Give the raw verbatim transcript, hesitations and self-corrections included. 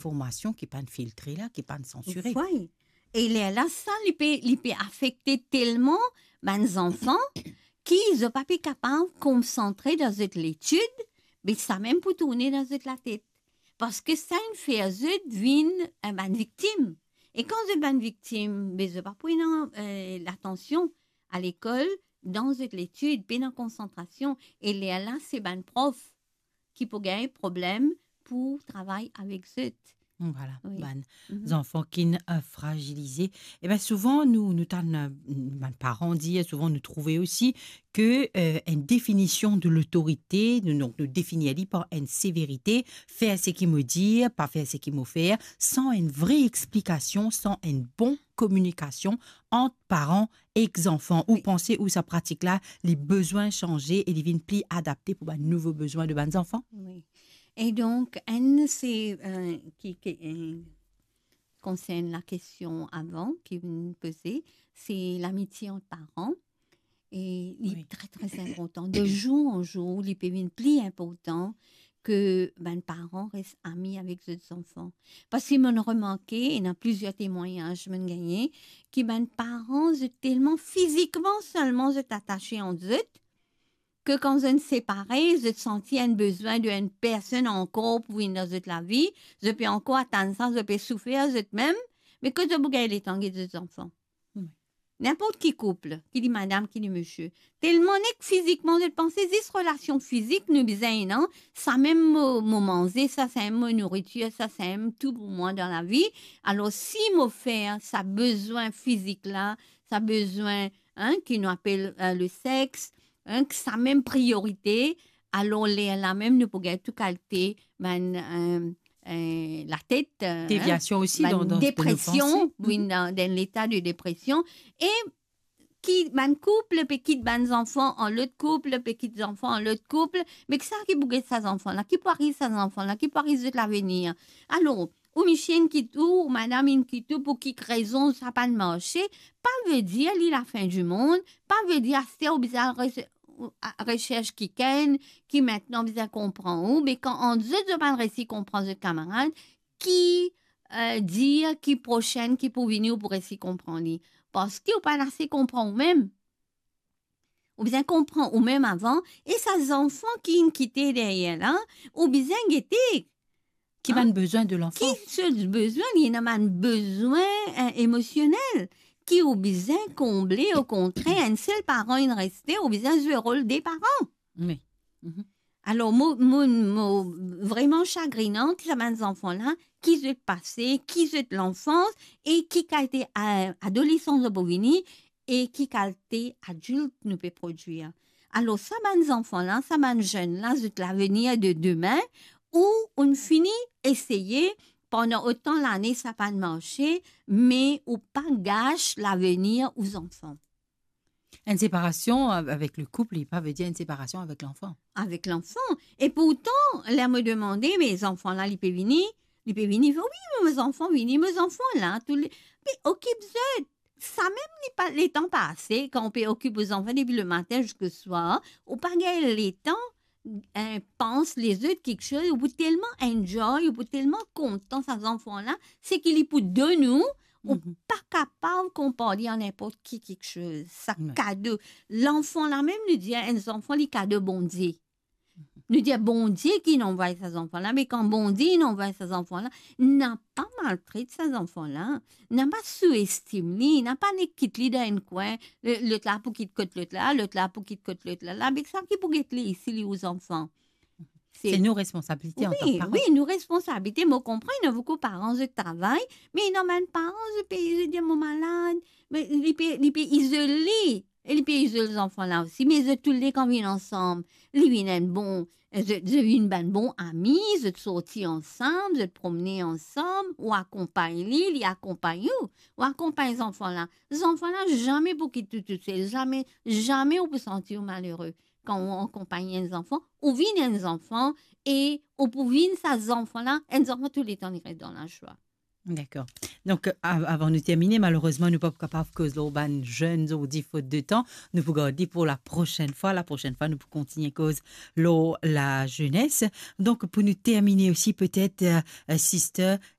informasion ki pa'nn filtre la, ki pa'nn sansire. Wi. E lerla sa, li pe, li pe afekte telman bann zanfan ki zot pa pe kapav konsantre dan zot letid, be samem pou tourne dan zot latet. Parski sa inn fer zot vinn, eh, bann viktim. E kan zot bann viktim, be zot pa pou ena, eh, latansion alekol, dan zot letid, pena konsantrasion. E lerla, se bann prof ki pou gagn problem pou travay avek zot. Vwala, wi, bann zanfan ki'nn, eh, frazilize. Wi. Eben, souvan, nou, nou tann, eh, bann paran dir, souvan nou trouve osi ke, eh, enn definision de lotorite, nou, donk, nou definir li par enn severite, fer seki mo dir, pa fer seki mo fer, san enn vre explikasion, san enn bon kominikasion ant paran ek zanfan. Ou panse ou sa pratik la, li bizin sanze e li vinn pli adapte pou bann nouvo bizin de bann zanfan? Wi. E donk, enn se, eh, ki, ki, eh, konsern lakestion avan ki vinn poze, se lamitie ant paran. E li, wi, tre, tre inportan. De zour an zour, li pe vinn pli inportan ke bann paran res ami avek zot zanfan. Parski mo'nn remarke, ena plizier temwagnaz mo'nn gagne, ki bann paran, zot telman fizikman selman zot atase ant zot, ke kan zot inn separe, zot santi enn bizin de enn personn ankor pou vinn dan zot lavi, zot pe ankor atann sa, zot pe soufer zot mem, me kot zot pou gagn letan get zot zanfan? Wi. Ninport ki koup, ki li madam, ki li misie. Telman nek fizikman zot panse, zis relasion fizik nou bizin ena, samem mo, mo manze, sa samem mo nouritir, sa samem tou pou mwa dan lavi. Alor, si mo fer sa bizin fizik la, sa bizin, hein, ki nou apel, eh, le sex, hein, ki samem priorite, alor lerla mem nou pou gagn tou kalite bann, eh, eh, latet, eh, deviasion osi, bann dan, dan, dan depresion, nou panse. Wi, dan, dan leta de depresion. E ki bann koup pe kit bann zanfan an lot koup, pe kit zanfan an lot koup, me kisa ki pou get sa zanfan la? Ki pou ariv sa zanfan la? Ki pou ariv zot lavenir? Alor, ou misie inn kit ou, ou madam inn kit ou, pou ki rezon sa pa'nn marse, pa vedir li lafin dimond, pa vedir aster ou bizin al res-, ou, a, resers kikenn ki mintnan bizin konpran ou, me kan ant zot, zot pa'nn resi konpran zot kamarad, ki, eh, dir ki prosenn ki pou vini, ou pou resi konpran li. Parski ou pa'nn ase konpran ou mem. Ou bizin konpran ou mem avan, e sa zanfan ki inn kite deryer la, ou bizin gete. Ki bann, hein? Bizin de lanfan. Ki so bizin, li ena bann bizin, eh, emosionel, ki ou bizin konble, okontrer, enn sel paran inn reste, ou bizin zwe rol de paran. Wi. Mhm. Alor, mo, mo, mo vreman sagrinan ki sa bann zanfan la, ki zot pase, ki zot lanfans, e ki kalite, eh, adolesans zot pou vini, e ki kalite adilt nou pe prodwir. Alor, sa bann zanfan la, sa bann zenn la, zot lavenir de demin, ou ou'nn fini eseye pandan otan lane, sa pa'nn marse, me ou pa gas lavenir ou zanfan. Enn separasion av-, avek le koup, li pa vedir enn separasion avek lanfan. Avek lanfan. E pourtan, ler mo demande, me zanfan la, li pe vini, li pe vini, wi, mo zanfan vini, mo zanfan la, tou le, pe okip zot. Samem li pa, letan pa ase, kan ou pe okip ou zanfan depi lematin ziska swar, ou pa gagn letan, eh, pans lezot kiksoz, ou pou telman enjoy, ou pou telman kontan sa zanfan la, seki li pou donn ou, ou, mhm, pa kapav konpar li ar ninport ki kiksoz. Sa, wi, kado. Lanfan la mem, nou dir enn zanfan, li kado Bondie. Nou dir Bondie ki inn anvway sa zanfan la, me kan Bondie inn anvway sa zanfan la, napa maltret sa zanfan la, napa souestim li, napa nek kit li dan enn kwin, le-, lot la pou kit kot lot la, lot la pou kit kot lot la, la, be sa ki pou get li, si li ou zanfan. Se, se nou responsabilite antan ki paran. Wi, wi, nou responsabilite. Mo konpran, ena boukou paran, zot travay, me ena bann paran, zot pe, zot dir, mo malad, me li pe, li pe izole, e li pe izol zanfan la osi, me zot toule kan vinn ansam, li vinn enn bon, zot, zot vinn bann bon ami, zot sorti ansam, zot promne ansam, ou akonpagn li, li akonpagn ou, ou akonpagn zanfan la. Zanfan la zame pou kit ou tousel, zame, zame ou pou santi ou malere. Kan ou akonpagn enn zanfan, ou vinn enn zanfan, e ou pou vinn sa zanfan la, enn zanfan touletan li res dan lazwa. Dakor. Donk, av-, avan nou termine, malerezman, nou pa pou kapav koz lor bann zenn zordi, fot de tan. Nou pou gard li pou laprosinn fwa. Laprosinn fwa, nou pou kontigne koz lor lazenes. Donk, pou nou termine osi, petet, eh, eh, sister,